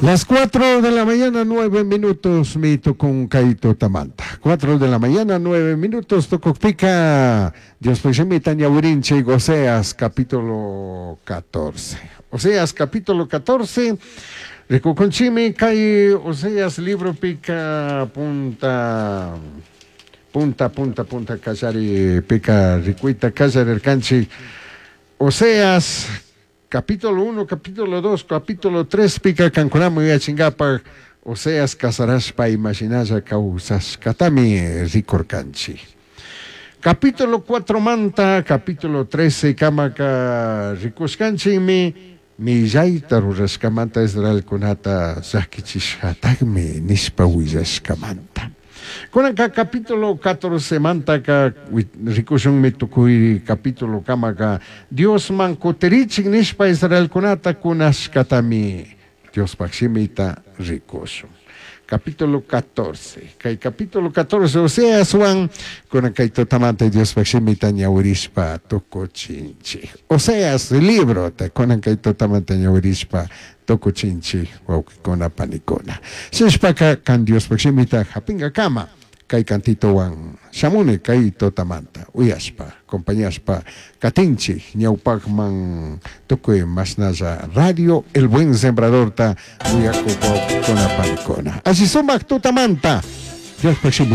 Las 4 de la mañana, 9 minutos, mi tukun kay tutamanta. 4 de la mañana, 9 minutos, tukukpika. Dios shimita ñawirinchik Oseas capítulo 14. Oseas capítulo 14. Rikukunchikmi kay Oseas libropika punta punta punta punta kallaripika rikuyta kallarirkanchik Oseas capítulo 1, capítulo 2, capítulo 3 pika kankunaman yuyachinkapak Oseas casarashpa imashinalla kawsashkatami rikurkanchik. Capítulo 4 manta, capítulo 13 kamaka rikushkanchikmi millayta rurashkamanta Israelkunata llakichishkatakmi nishpa willashkamanta. Kunanka capítulo 14 mantaka rikushunmi tukuy capítulo kamaka Diosman kutirichik nishpa Israelkunata kunashkatami Diospaj shimita rikushun. Capítulo 14. Kay capítulo 14 Oseaswan kunan kay tutamanta Diospaj shimita ñawirishpa tukuchinchik. Oseas librota kunan kay tutamanta ñawirishpa tukuchinchik wawqikuna panikuna. Shinashpaka kan Diospaj shimita hapingakama kay cantitowan shamuni kay tutamanta uyashpa acompañashpa katinchik ñawpakman tukuy mashnalla radio El Buen Sembradorta uyakuk wawqikuna panikuna. Alli sumak tutamanta Diospaj shimi.